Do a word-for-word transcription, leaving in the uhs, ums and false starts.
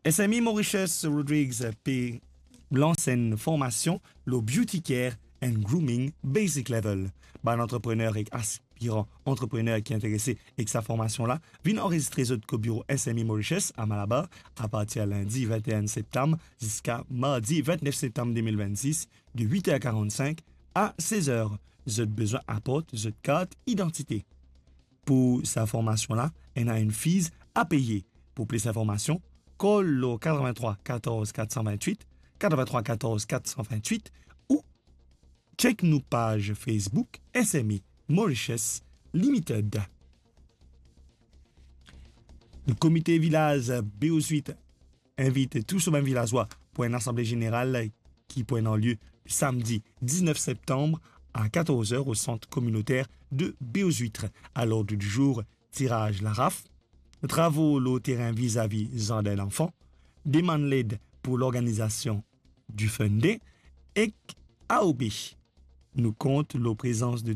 S M E Mauritius Rodrigues pe lans enn formasion lo Beauty Care and Grooming Basic Level. Bann antreprener ek aspiran antreprener ki interese ek sa formasion la, vinn anrezistre zot ko biro S M E Mauritius a Malabar apartir lindi vinte-enn septam ziska mardi vintnef septam de mil vintsis, de wit er karannsink a sez er. Zot bizin aport zot kart idantite. Pou sa formasion la, ena enn fees a peye. Pou plis informasion, call lo katrevin-trwa katorz kat san vintwit, katrevin-trwa katorz kat san vintwit ou check nou paz Facebook S M E Mauritius Limited. Komite vilaz Beozwit invit tou so bann vilazwa pou enn asanble zeneral ki pou ena lie samdi diznef septam a katorz er o sant kominoter de Beozwit. A lord di zour, tiraz laraf, travo lo terin vizavi zardin danfan, demann led pou lorganizasion di Fun Day ek A O B. Nou kont lo prezans de tou